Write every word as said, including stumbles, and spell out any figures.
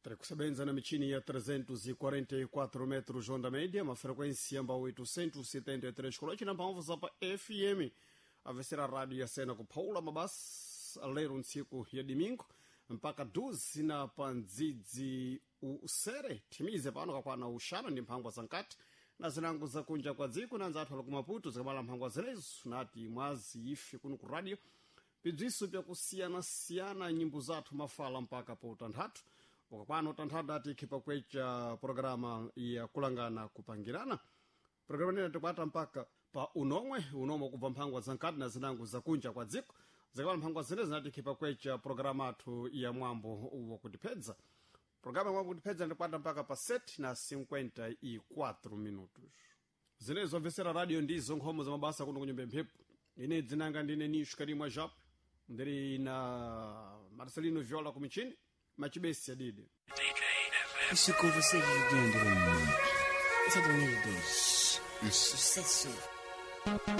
Tiri kusebenza na michini ya trezentos e quarenta e quatro metros onda média, uma frequência amba oitocentos e setenta e três kolochi na mphamvu za pa F M. Avesera rádio ya sena kupaula mabasi lero ntsiku ya domingo mpaka doze na pandzidzi usere thimize pano kakwana uxanu ndi mphangwa za nkati na zinango zakunja kwa dziko na nzathu ali ku Maputo zikabala mphangwa zilezo nati mwazi ife kuno ku radio bibziso byakusiyana-siyana nyimbo zathu mafala mpaka po utanthatu ukakwana utanthatu ati ikhipa kwecha programa ya kulangana kupangirana. Programa nene tikwata mpaka pa unomwe unomwe kubva mphangwa za nkati na zinango zakunja kwa dziko zikapala mphangwa zine zinati ikhipa kwecha programa athu ya mwambo wakutipedza. Programa ya mwambo wakutipedza ndikwata mpaka pa sete na cinquenta e quatro minutos. Zine zomvesera radio ndizo nkhomo za mabasa kuno kunyumba mphepo. Ine dzinanga ndine Nisho Karimwa Jap, ndiri na Marcelino Viola kumichini machibesi adidi. Isso com vocês dentro. Isso é dois mil e dois. Sucesso.